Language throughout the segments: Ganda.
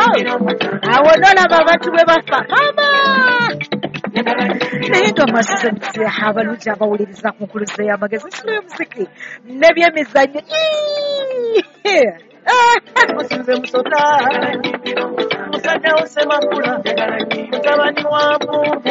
Awo n'olaba abantu bwe bafa mama, naye nga mwasuze mutya abalungi abawuliriza ku nkuluze y'amagezi, nsulo y'omuziki n'ebyemizannyo. Musinze musota musajja Semakula mutabani wa Mpungu.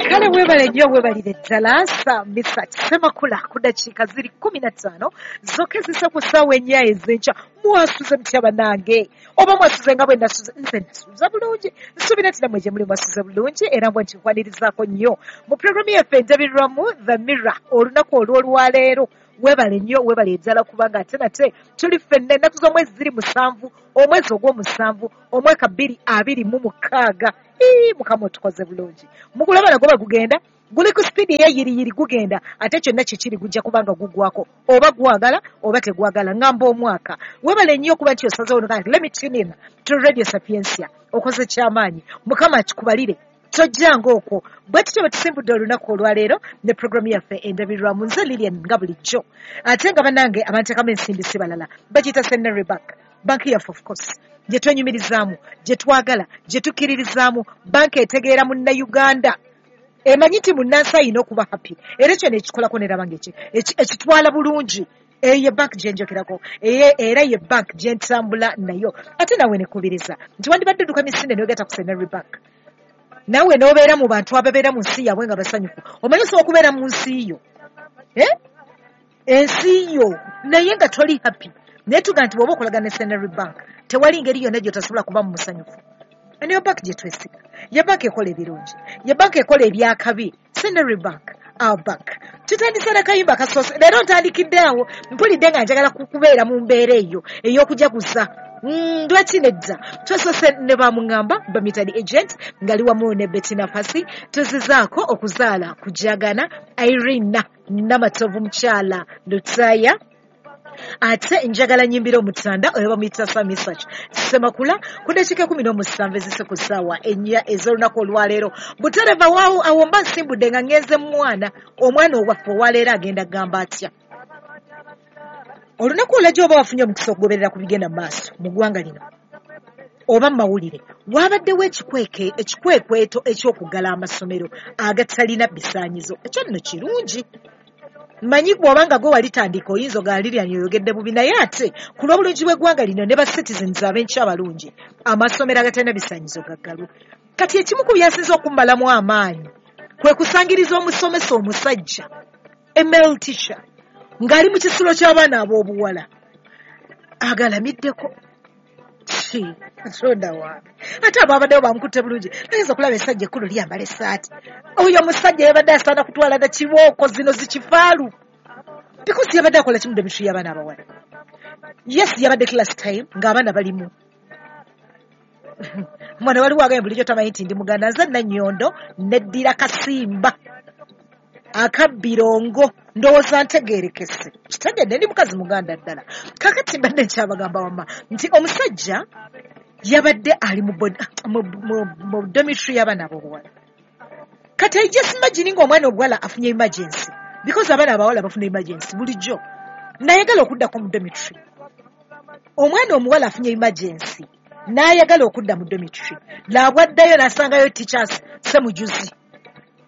Kale weebale nnyo, weebalire ddala Samisa Semakula ku dakiika ziri 15 zokka ezise ku ssaawa 4 ez'enkya. Mwasuze mutya bannange? Oba mwasuze nga bwe nasuze? Nze nasuze bulungi, nsuubira nti nammwe gye muli mwasuze bulungi, era mbwe nti nkwanirizaako nnyo mu puroguramu yaffe endabirwamu The Mirror olunaku olw'olwaleero. Weebale nnyo, weebale ddala kubanga ate nate tuli ffenna. Ennaku z'omwezi ziri 7, omwezi ogw'omusanvu, omwaka 2026. Mukama otukoze bulungi. Mugulaba nagwo bwe gugenda, guli ku sipiidi eyayiriyiri gugenda, ate kyonna kikiri gujja kubanga gugwako, oba gwagala oba tegwagala, ngamba omwaka. Weebale nnyo okuba nti osazeewo nogamba let me tune in to Radio Sapientia. Okoze kyamaanyi, Mukama akikubalire, tojjanga okwo. Bwe tutyo bwe tusimbudde olunaku olwaleero ne puroguramu yaffe endabirwamu. Nze Lilian nga bulijjo, ate nga bannange abanteekamu ensimbi si balala, bagiyita Centenary Bank, banki yaffe of course gye twenyumirizaamu, gye twagala, gye tukkiririzaamu. Banka etegeera munnayuganda, emanyi nti munnansi ayina okuba happy, era ekyo nekikolako neraba nga ekitwala bulungi. Eyo ye bank gye njogerako, era ye bank gye ntambula nayo. Ate nawe nekubiriza nti wandibadde odduka misinde n'ogatta ku Centenary Bank, naawe n'obeera mu bantu ababeera mu nsi yaabwe nga basanyufu. Omanyi osobola okubeera mu nsi yo, ensi yo, naye nga toli happy. Naye tuga nti bw'oba okolagana ne Centenary Bank, tewali ngeri yonna gy'otasobola kuba mu musanyufu. Niyo bank gye twesiga, ye bank ekola ebirungi, ye bank ekola ebyakabi. Centenary Bank, our bank. Tutandise nakayimba kasoose leero, ntandikidde awo, mpulidde nga njagala kubeera mu mbeera eyo ey'okujaguza. Lwaki nedda? Twasose ne bamuŋŋamba bamitali agent ngali wamu ne Bettina Pasi, tuzizaako okuzaala kujagana Irene Namatovu mukyala Lutaya. Ate njagala nyimbira omutanda oyo bamuyita Samisa Semakula ku dakiika 17 ezise ku ssaawa 4 ez'olunaku olwaleero. Butereva waawo awo mba nsimbudde nga ngenze mwana, omwana owaffe owaleero agenda kugamba atya? Olunaku olwajja oba wafunye omukisa okugoberera ku bigenda mu maaso mu ggwanga lino oba mu mawulire, waabaddewo ekikwekweto eky'okuggala amasomero agatalina bisaanyizo. Ekyo nno kirungi. Mmanyi bw'oba nga gwe walitandika oyinza ogamba Lilian oyogedde bubi, naye ate ku lw'obulungi bw'eggwanga lino ne ba citizens ab'enkya abalungi, amasomero agatalina bisaanyizo gaggalwe. Kati ekimu ku byasinze okummalamu amaanyi kwe kusangiriza omusomesa omusajja, a male teacher, ng'ali mu kisulo ky'abaana ab'obuwala agalamiddeko. Ki Katonda wange, ate ababaddewo bamukutte bulungi. Nayinza okulaba essajja ekkulu lyambala essaati, oyo omusajja yabadde asaana kutwala na kibooko zino zikifaalu, because yabadde akola kimu dormitory y'abaana abawala. Yes, yabadde class time ng'abaana balimu. Mwana waliwo agambye bulijjo tamanyi nti ndi muganda, nze Nannyondo neddira Kasimba akabbirongo, ndowooza ntegeerekese, kitegedde ndi mukazi muganda ddala. Kakati mbadde nkyabagamba wamma nti omusajja yabadde ali mu dormitory y'abaana ab'obuwala. Kati I just imagine ng'omwana obuwala afunye emergency, because abaana abawala bafuna emergency bulijjo, n'ayagala okuddako mu dormitory. Omwana omuwala afunye emergency n'ayagala okudda mu dormitory, laabwaddayo n'asangayo teachers Semujuzi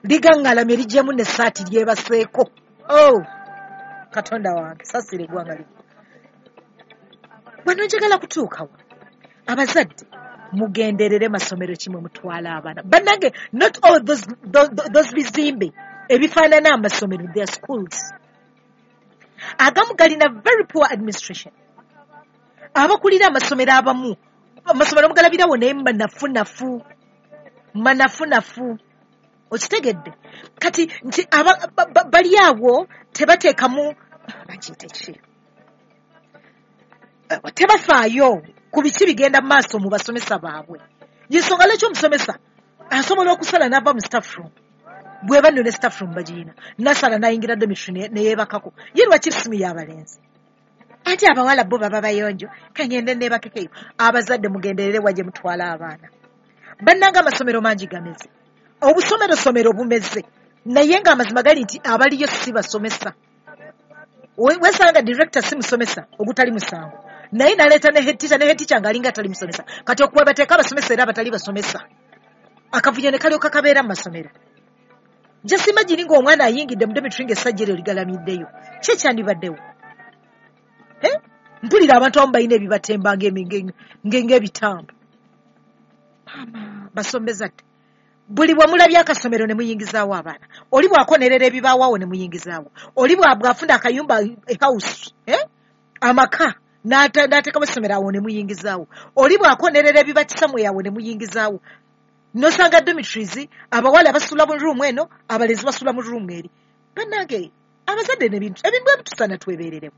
ligaŋŋalamye lijjemu n'essaati lyebaseeko. Oh, Katonda wange, saasira eggwanga lino. Wano njagala kutuukawa, abazadde mugenderere masomero kimwe mutwala abaana. Bannange, not all those bizimbe ebifaanana amasomero, their schools. Agamu galina very poor administration. Abakulira amasomero abamu, amasomero mugalabirawo naye manafunafu, manafunafu. Okitegedde? Kati nti bali awo tebateekamu, bakiyite ki? Tebafaayo ku biki bigenda mu maaso mu basomesa baabwe. Yensonga lwaki omusomesa asobola okusala n'ava mu staff room, bw'eba nno ne staff room bagiyina, n'asala n'ayingira dormitory ne yeebakako. Ye lwaki essimu y'abalenzi? Ate abawala bo baba bayonjo, kangende neebakeko eyo. Abazadde mugenderere wa gye mutwala abaana. Bannange amasomero mangi gameze, obusomerosomero bumeze, naye ng'amazima gali nti abaliyo si basomesa. Wesanga director si musomesa ogutali musango, Naye naleeta ne head teacher, ne head teacher ng'alinga atali musomesa. Kati okuwa bateeka abasomesa era abatali basomesa. Akavuyo ne kalyoka kabeera mu masomero. Just imagine ng'omwana ayingidde mu dormitory ng'essajja eryo ligalamiddeyo. Ki ekyandibaddewo? Mpulira abantu abamu balina ebibatemba ng'ebitambo. Maama, basombeza dde. Buli bwe mulabye akasomero ne muyingizaawo abaana. Oli bw'akonerera ebibaawo awo ne muyingizaawo. Oli bw'afuna akayumba house, amaka n'ateekamu essomero awo ne muyingizaawo. Oli bw'akonerera ebibatisa mwe awo ne muyingizaawo. Nosanga dormitories, abawala basula mu room eno, abalenzi basula mu room eri. Bannange, abazadde n'ebintu ebintu ebitusana twebeereremu.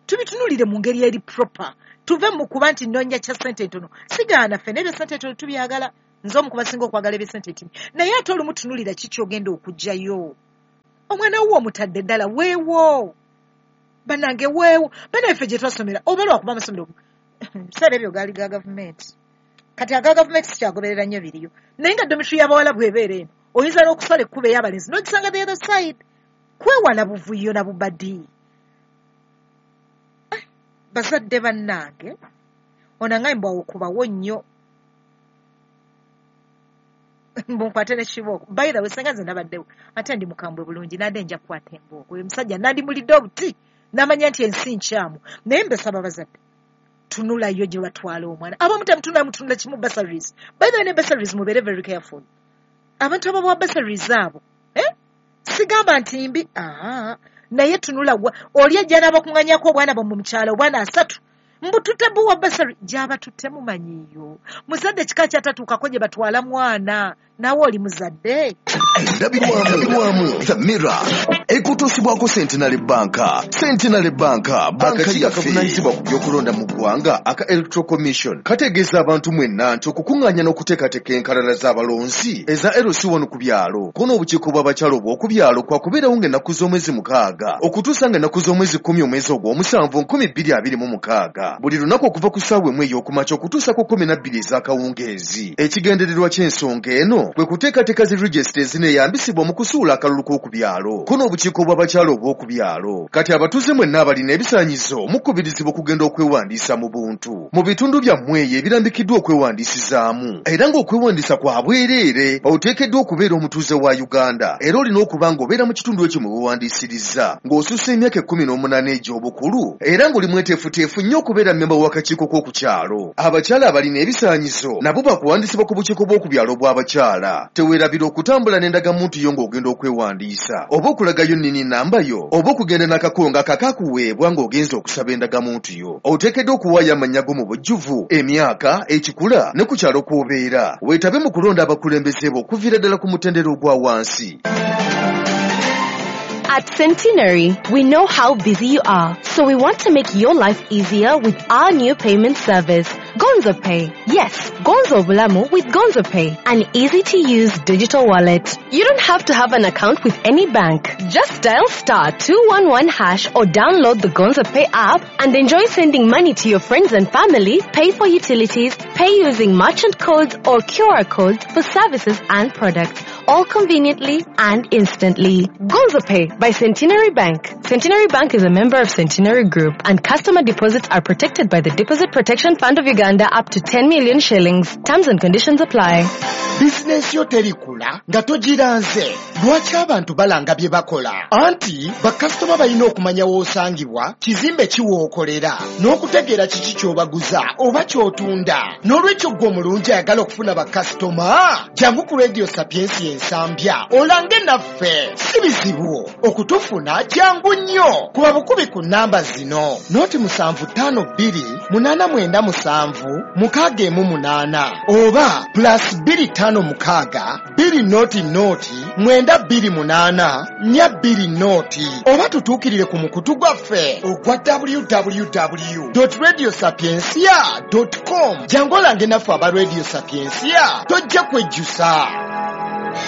Tubitunulire mu ngeri eri proper. Tuve mu kuba nti nnoonya kya ssente entono. Sigaana ffe n'ebya ssente entono tubyagala. Nze omu ku basinga okwagala ebya ssente entono. Naye ate olumu tunulira ki ky'ogenda okuggyayo. Omwana wo omutadde ddala weewo. Bannange weewo. Bannange ffe gye twasomera oba lwakuba amasomero ebiseera ebyo gaali ga gavumenti. Kati aga gavumenti sikyagoberera nnyo biriyo. Naye nga dormitory y'abawala bw'ebeera eno, oyinza n'okusala ekkubo ey'abalenzi n'ogisanga the other side. Kwewala buvuyo na bubadi. Bazadde bannange, ono angambye mbu awo kubawo nnyo. Mbu nkwate ne kibooko. By the way, senga nze nabaddewo ate ndi mukambwe bulungi, nadde nja kukwata embooko. Oyo musajja nandimulidde obuti n'amanya nti ensi nkyamu. Naye mbasaba bazadde, tunulayo gye batwala omwana. Abamu temutunula, mutunula kimu bursaries. By the way, ne bursaries mubeere very careful. Abantu ababawa bursaries abo, sigamba nti mbi, naye tunula oli ajja n'abakuŋŋaanyako obwana bwammwe mu kyalo, obwana 3. Mbu tutabuwa bursary, gy'abatutte mumanyiiyo. Muzadde kika kyatatuukako gye batwala mwana, naawe oli muzadde. Endabirwamu The Mirror ekutuusibwako Centenary Bank. Centenary Bank, banka Akakiiko yaffe. akavunaanyizibwa ku by'okulonda mu ggwanga aka Electoral Commission kategeeza abantu mwenna nti okukuŋŋaanya n'okuteekateeka enkalala z'abalonzi eza LC1 ku byalo ko n'obukiiko bw'abakyala obw'oku byalo kwakubeerawo ng'ennaku z'omwezi 6 okutuusa ng'ennaku z'omwezi 10 omwezi ogw'omusanvu 2026 buli lunaku okuva ku ssaawa 1 ey'okumakya okutuusa ku 12 ez'akawungeezi. Ekigendererwa ky'ensonga eno kwe kuteekateeka zi regisita ezineeyambisibwa mu kusuula akalulu k'oku byalo ko n'obukiiko bw'abakyala obw'oku byalo. Kati abatuuze mwenna abalina ebisaanyizo mukubirizibwa okugenda okwewandiisa mu buntu mu bitundu byammwe eyo ebirambikiddwa okwewandiisizaamu, era ng'okwewandiisa kwa bwereere. Oteekeddwa okubeera omutuuze wa Uganda era olina okuba ng'obeera mu kitundu ekyo mwe weewandiisiriza, ng'osussa emyaka 18 egy'obukulu, era ng'oli mweteefuteefu nnyo okubeera mmemba w'akakiiko k'oku kyalo. Abakyala abalina ebisaanyizo nabo bakuwandiisibwa ku bukiiko bw'oku byalo bw'abakyala. Teweerabira okutambula n'endagamuntu yo ng'ogenda okwewandiisa, oba okulagayo nnini namba yo, oba okugenda n'akakongo akakakuweebwa ng'ogenza okusaba endagamuntu yo. Oteekeddwa okuwaayo amannya go mu bujjuvu, emyaka, ekikula ne ku kyalo kw'obeera. Weetabe mu kulonda abakulembeze bo okuviira ddala ku mutendera ogwa wansi. At Centenary, we know how busy you are, so we want to make your life easier with our new payment service, Gonzo Pay. Yes, Gonzo Bulamu with Gonzo Pay, an easy-to-use digital wallet. You don't have to have an account with any bank. Just dial *211# or download the Gonzo Pay app and enjoy sending money to your friends and family, pay for utilities, pay using merchant codes or QR codes for services and products, all conveniently and instantly. Gonzo Pay by Centenary Bank. Centenary Bank is a member of Centenary Group, and customer deposits are protected by the Deposit Protection Fund of Uganda up to 10 million shillings. Terms and conditions apply. Bizinensi yo terikula nga togiranze. Lwaki abantu balanga bye bakola? Anti bakasitoma balina okumanya w'osangibwa, kizimbe ki w'okolera, n'okutegeera kiki ky'obaguza oba ky'otunda. N'olwekyo ggwe omulungi ayagala okufuna bakasitoma, jangu ku Radio Sapiensia Ensambya olange naffe. Si bizibu okutufuna, jangu nnyo. Kuba bukubi ku nnamba zino: 075 2 897 618 oba +256 200 928 420, oba tutuukirire ku mukutu gwaffe ogwa www.radiosapiencia.com. Jangu olange naffe aba Radio Sapiencia, tojja kwejjusa.